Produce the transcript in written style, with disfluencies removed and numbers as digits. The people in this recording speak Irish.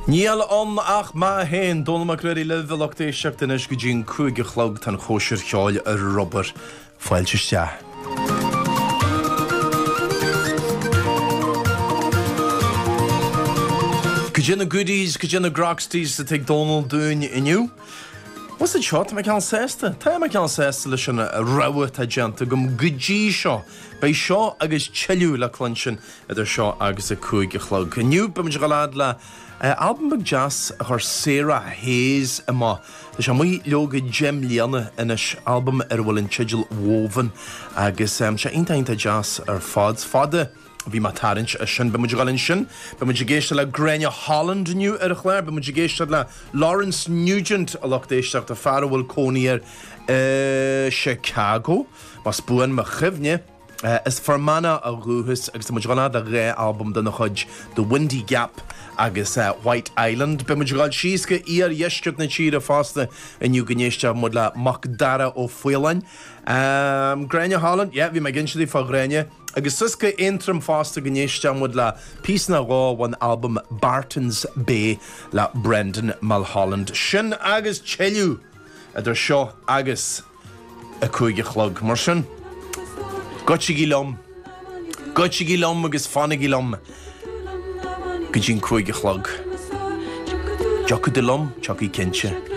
Níl ann ach mé féin, Dónall Mac Ruairí libh, a lucht éisteachta anois go dtí an 5 a chlog, tá an chóisir cheoil ar obair. Fáilte isteach. Cad é na goodies, cad é na groxties atá ag Dónall dúinn inniu? Bhuel seo, tá mé cineál sásta. Tá mé cineál sásta leis an rogha atá déanta agam go dtí seo. Beidh seo agus tuilleadh le cluinstin idir seo agus a 5 a chlog. Inniu, beidh muid ag dul fhad le albam beag deas a chuir Sarah Hayes amach. Tá sé amuigh leoga 10 mbliana anois, albam ar a bhfuil an teideal Woven agus tá sé iontach iontach deas ar fad. Is fada. Bhí mé ag tarraingt air sin. Beidh muid ag dul ansin. Beidh muid ag éisteacht le Gráinne Holland inniu ar an chlár. Beidh muid ag éisteacht le Lawrence Nugent, a lucht éisteachta, fear a bhfuil cónaí air i Chicago, más buan mo chuimhne. As Fear Manach ó dhúchas agus tá muid ag dul fhad le dhá albam dena chuid, The Windy Gap agus White Island. Beidh muid ag dul síos go iardheisceart na tíre fosta inniu go n-éistfidh muid le Macdara Ó Faoláin. Gráinne Holland, yeah, bhí mé ag inse daoibh fá Ghráinne. Agus suas go Aontroim fosta go n-éistfidh muid le píosa nó dhó ón albam Barton's Bay le Brendan Mulholland. Sin agus tuilleadh idir seo agus a 5 a chlog. Mar sin, goitsigí liom, goitsigí liom agus fanaigí liom go dtí an 5 a chlog. Dtiocfaidh tú liom? Tiocfaidh cinnte.